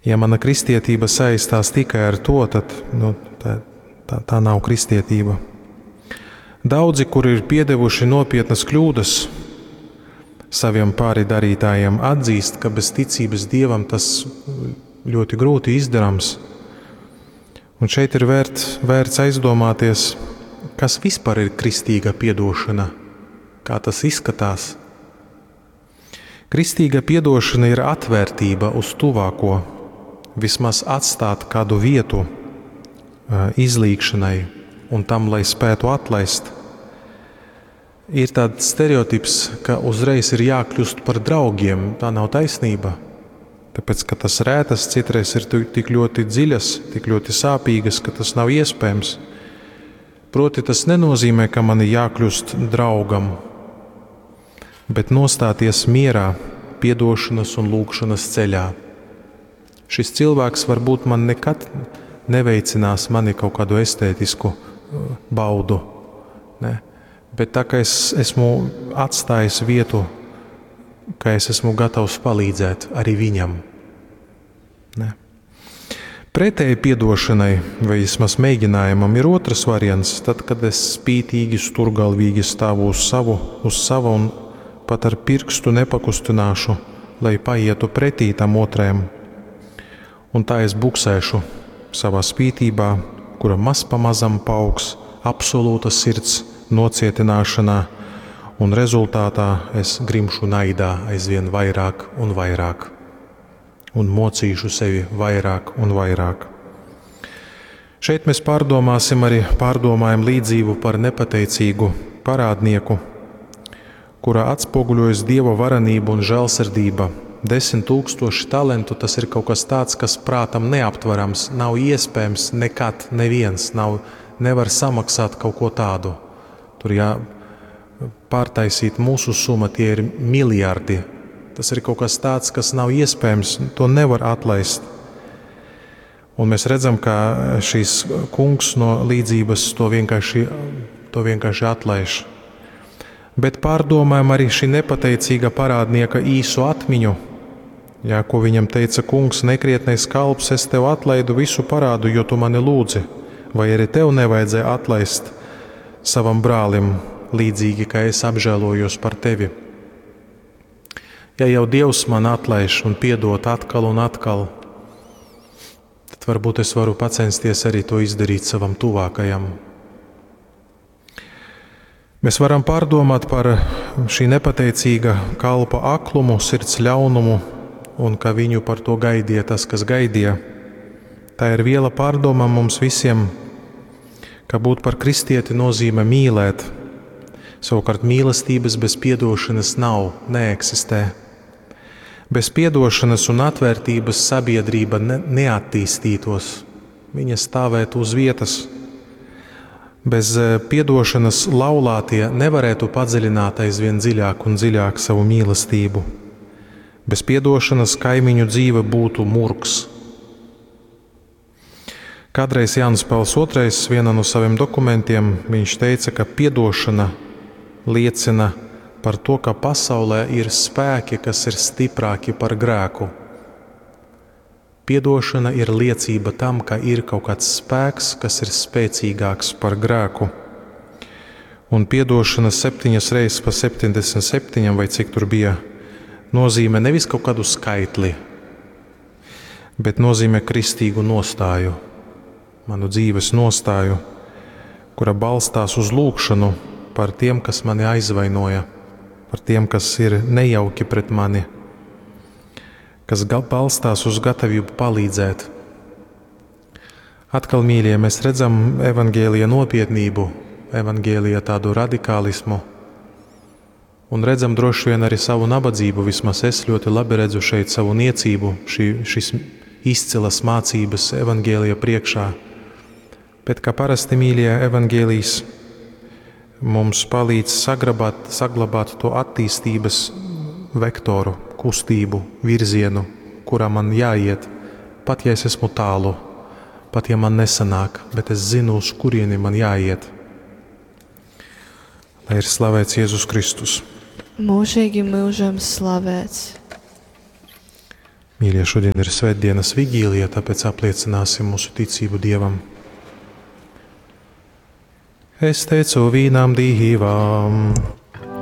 Ja mana kristietība saistās tikai ar to, tad nu, tā, tā, tā nav kristietība. Daudzi, kuri ir piedevuši nopietnas kļūdas saviem pāri darītājiem, atzīst, ka bez ticības Dievam tas ļoti grūti izdarāms. Un šeit ir vērt, vērts aizdomāties, kas vispār ir kristīga piedošana, kā tas izskatās. Kristīga piedošana ir atvērtība uz tuvāko, vismaz atstāt kādu vietu izlīgšanai un tam, lai spētu atlaist. Ir tāds stereotips, ka uzreiz ir jākļūst par draugiem. Tā nav taisnība. Tāpēc, ka tas rētas citreiz ir tik ļoti dziļas, tik ļoti sāpīgas, ka tas nav iespējams. Proti, tas nenozīmē, ka man ir jākļūst draugam, bet nostāties mierā, piedošanas un lūgšanas ceļā. Šis cilvēks varbūt man nekad neveicinās mani kaut kādu estētisku baudu, ne? Bet tā kā es esmu atstājis vietu, ka es esmu gatavs palīdzēt arī viņam. Ne? Pretēji piedošanai, vai vismaz mēģinājumam, ir otrs variants. Tad, kad es spītīgi, sturgalvīgi stāvu uz savu, uz sava un pat ar pirkstu nepakustināšu, lai paietu pretī tam otrajam. Un tā es buksēšu savā spītībā, kura maz pa mazam paaugs absolūta sirds nocietināšanā, un rezultātā es grimšu naidā aizvien vairāk un vairāk, un mocīšu sevi vairāk un vairāk. Šeit mēs pārdomāsim arī pārdomājam līdzību par nepateicīgu parādnieku, kurā atspoguļojas Dieva varenība un žēlsirdība. 10 000 talentu tas ir kaut kas tāds, kas prātam neaptverams, nav iespējams nekad neviens, nav, nevar samaksāt kaut ko tādu. Tur jā, pārtaisīt mūsu summa, tie ir miljardi. Tas ir kaut kas tāds, kas nav iespējams, to nevar atlaist. Un mēs redzam, ka šīs kungs no līdzības to vienkārši atlaiž. Bet pārdomājam arī šī nepateicīga parādnieka īsu atmiņu. Jā, ko viņam teica kungs, nekrietnais kalps, es tev atlaidu visu parādu, jo tu mani lūdzi. Vai arī tev nevajadzēja atlaist savam brālim, līdzīgi kā es apžēlojos par tevi? Ja jau Dievs man atlaiž un piedod atkal un atkal, tad varbūt es varu pacensties arī to izdarīt savam tuvākajam. Mēs varam pārdomāt par šī nepateicīga kalpa aklumu, sirds ļaunumu un ka viņu par to gaidīja tas, kas gaidīja. Tā ir viela pārdomām mums visiem, ka būt par kristieti nozīmē mīlēt. Savukārt mīlestības bez piedošanas nav, neeksistē. Bez piedošanas un atvērtības sabiedrība neattīstītos, viņa stāvētu uz vietas. Bez piedošanas laulātie nevarētu padziļināt aizvien dziļāk un dziļāk savu mīlestību. Bez piedošanas kaimiņu dzīve būtu murgs. Kādreiz Jānis Pāvils II vienā no saviem dokumentiem viņš teica, ka piedošana liecina par to, ka pasaulē ir spēki, kas ir stiprāki par grēku. Piedošana ir liecība tam, ka ir kaut kāds spēks, kas ir spēcīgāks par grēku. Un piedošana 7 reizes pa 77, vai cik tur bija, nozīmē nevis kaut kādu skaitli, bet nozīmē kristīgu nostāju, manu dzīves nostāju, kura balstās uz lūgšanu par tiem, kas mani aizvainoja, par tiem, kas ir nejauki pret mani, kas balstās uz gatavību palīdzēt. Atkal, mīļie, mēs redzam evaņģēlija nopietnību, evaņģēlija tādu radikālismu, un redzam droši vien arī savu nabadzību. Vismaz es ļoti labi redzu šeit savu niecību, šis izcilas mācības evaņģēlija priekšā. Bet kā parasti, mīļie, evaņģēlijs mums palīdz saglabāt to attīstības vektoru, kustību, virzienu, kurā man jāiet, pat ja es esmu tālu, pat ja man nesanāk, bet es zinu, uz kurieni man jāiet. Lai ir slavēts Jēzus Kristus. Mūžīgi mūžam slavēts. Mīļie, šodien ir svētdienas vigīlija, tāpēc apliecināsim mūsu ticību Dievam. Es teicu vīnam Dīvam.